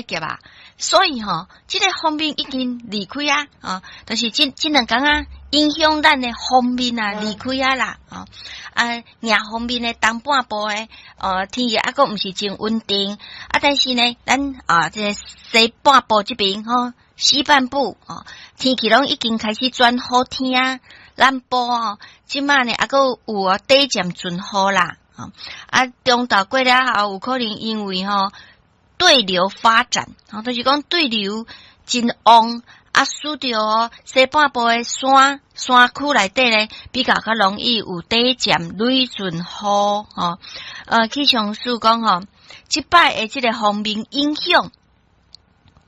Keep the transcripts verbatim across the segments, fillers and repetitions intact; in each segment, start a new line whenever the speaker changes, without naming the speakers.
峽啊，所以吼，這個鋒面已經離開啊，哦，就是這這兩工啊，影響咱的鋒面啊離開啊啦，哦，啊，迎鋒面的東半部的，哦，天氣猶閣毋是真穩定，啊，但是呢，咱啊，這個西半部這邊吼，西半部哦，天氣攏已經開始轉好天啊，南部哦，這馬呢猶閣有啊短暫陣雨啦，啊，中晝過了後有可能因為吼對流發展，吼，就是講對流真旺，啊，使著哦西半部的山山區內底咧，比較較容易有短暫雷陣雨，吼。呃，氣象署講吼，這擺的這個鋒面影響，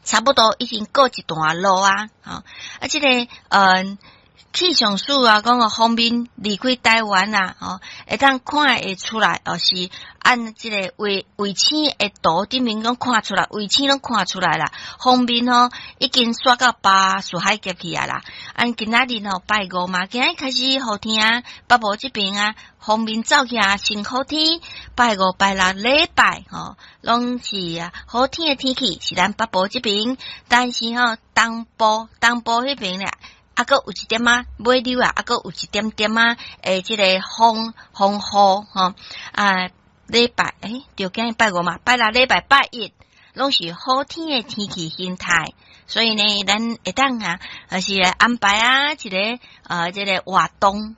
差不多已經告一段落啊，吼，啊，這個呃。氣象署啊，講個鋒面離開台灣啊，吼，會當看會出來，哦，是按這個衛衛星的圖頂面攏看出來，衛星攏看出來啦。鋒面吼已經煞到巴士海峽去啊啦。按今仔日吼拜五嘛，今仔日開始雨天，北部這邊啊，鋒面走去啊，先好天。拜五、拜六禮拜吼，攏是啊好天的天氣，是咱北部這邊，但是吼東部東部彼邊咧，猶閣有一點仔尾溜啊，猶閣有一點點仔，欸，這個風風雨吼啊，禮拜欸，對，今日拜五嘛，拜六禮拜拜一，攏是好天的天氣形態，所以呢，咱會當啊，就是安排啊，一個呃，這個活動。